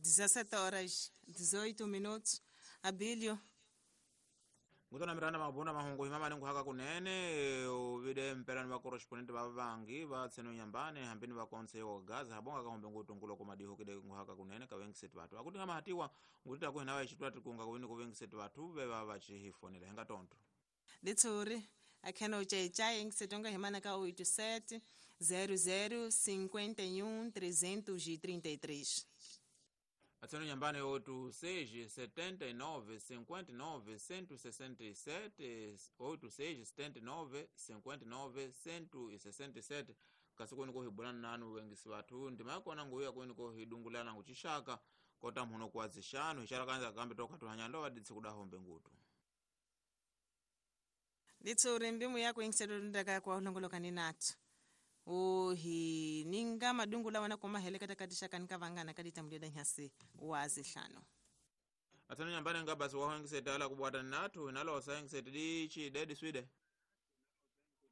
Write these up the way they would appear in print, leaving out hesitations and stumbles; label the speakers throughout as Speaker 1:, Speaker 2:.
Speaker 1: 17 horas 18 minutos. Abílio.
Speaker 2: Ngutona miranda mabona mahungu himama ningu haka kunene uvide mpelani va correspondent va vangi va tseno nyambane hambini va konse yo gaza habonga ka hombe ngutu ngulo komadiho kide ngu haka kunene ka wengisetu watu akuti kama hatiwa ngutita kuhina wa ichitwa tikunga kuwini kuwengisetu watu veva vachihifonela henga tonto
Speaker 1: Litsuri akheno chaichai engisetonga himana ka 87 00 51 333.
Speaker 2: Atseno nyambane 86 79 59 167 86 79 59 167 kasi kweni kohibulana nanu wengisi vathu ndimakona nguya kweni kohidungulana nguchishaka kota mhuno kuwazishanu ishara kanza kambe tokatuhanyando vaditsi kudahombe ngutu.
Speaker 1: Litsuri mbimu yako ingisedondaka kwa ulongolokani nathu uhi ninga madungu lawana koma helekata katisha kanika vangana kaditamulida nyasi wazihlano.
Speaker 2: Atseno nyambane ngabasi waho kubwata nathu inalosa engisete dichi dedi swide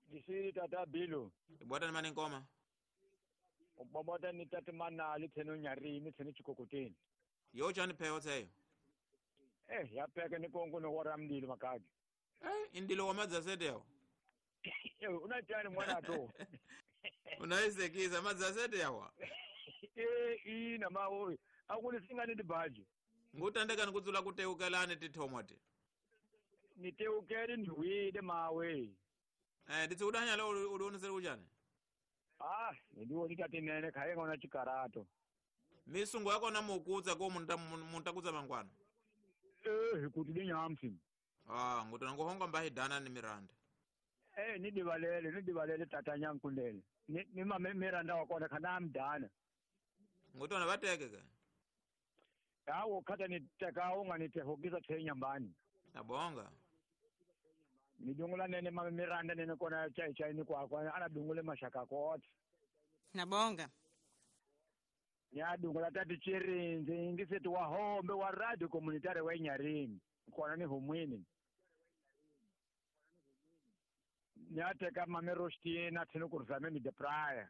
Speaker 3: disiri tata bilo
Speaker 2: ibwata ni mani nkoma
Speaker 3: ubabata ni tata manali tseno nyarini tseno chikokoteni
Speaker 2: yo chani pheho tseyo
Speaker 3: yapeke ni kongo no wara mndilo makaki
Speaker 2: indilo wa madzasete yawo
Speaker 3: unatani mwana to
Speaker 2: unaisekisa madzasete yawa
Speaker 3: ina mawo akuni singani dibaji
Speaker 2: ngutandeka nikudzula kuteukelani tithomoti
Speaker 3: niteukele ndiwile mawe
Speaker 2: nditsikudanya lo ulionesere kuchani
Speaker 3: ndiwo tatinene khaye ngona chikarato
Speaker 2: misungu yakona mukutsa ko muntakutsa mangwana
Speaker 3: kuti dinyamsi
Speaker 2: ngutona ngohonga mbahidana ni miranda
Speaker 3: nidivalele tata nyankundele ni mame miranda wakona khana amdana
Speaker 2: ngutona vateke ke
Speaker 3: yawo khata niteka unganitehokisa the nyambani
Speaker 2: nabonga
Speaker 3: nidungula nene mame miranda nene kona chai chai ni kwakwa ana dungule mashaka kote
Speaker 1: nabonga
Speaker 3: nyadungula tati chirinzi ingiseti wahombe wa radio communitary wa Nyarini kona ni humwini nyateka mame Rostina tseno kurzame de praia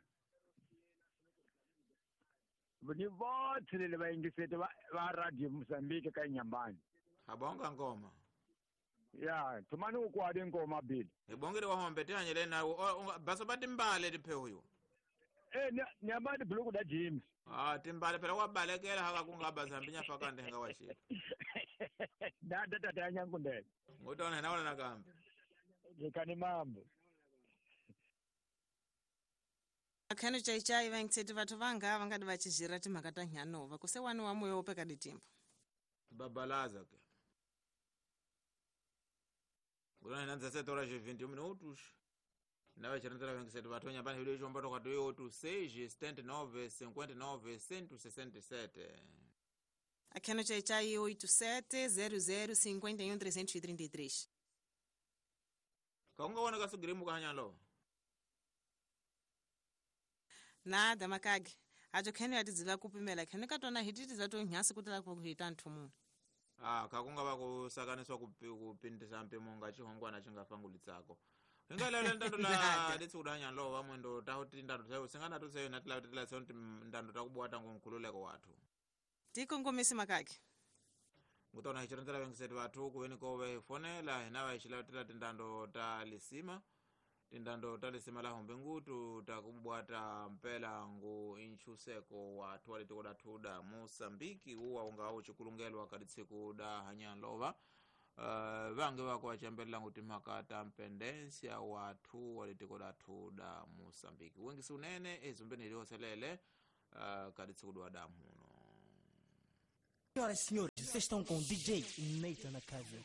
Speaker 3: ni vote le va ingisete va radio Mozambique ka Nyambani
Speaker 2: abonga ngoma
Speaker 3: ya tumani ukwadi ngoma bili
Speaker 2: ibongere wahombe tihanyele nawo baso batimbale tipheho yo
Speaker 3: nyambani buluku da James
Speaker 2: timbale phela wabalekela haka kungaba zambi nyafaka ndenga washila
Speaker 3: da da da nyankundele
Speaker 2: ngutona naona nakambe
Speaker 3: ndikani mambo
Speaker 1: akhano chaichai vangitseti vathu vanga vangadi vachizhira timhaka ta nyanova kuse wani wa moyo wopeka ditimbo
Speaker 2: babalaza ke ngutona nanza 7 horas 21 minutos nave chirantela vengiseti vathu nyambani hilo icho mbato kati 86 79 59 167
Speaker 1: akhano chaichai 87 00 51 333
Speaker 2: kaungaona kasugirimu kahanyalo
Speaker 1: nada makage acho kheno yatidziva kupimela kheno katona hititi zato nyasi kutala kuhita nthu muno
Speaker 2: kakunga vakusakaniswa kupindisa mpimo nga chihongwana chingafangulitsako hingalelo ntando la litsikudanya lo vamwendo tahuti ndando tayo singana tuseyo natila tila ndando takubwata ngonkhululeko wathu
Speaker 1: tikongomisi makake
Speaker 2: ngutona hichiranzela vengiseti vathu kuveni kove hifonela hina vahichilatila tindando ta lisima tindando ta lisima la hombe ngutu takubwata mpela ngu inchuseko wathu walitiko dathu da Mosambiki uwa unga uchikulungelwa kalitsiku da hanyanlova vange vako vachembelela nguti mhaka ta mpendensia wathu walitiko dathu da Mosambiki wengisi unene ezumbeni ilioselele kalitsiku dwa damuno.
Speaker 4: Senhoras e senhores, vocês estão com o DJ Nathan na casa.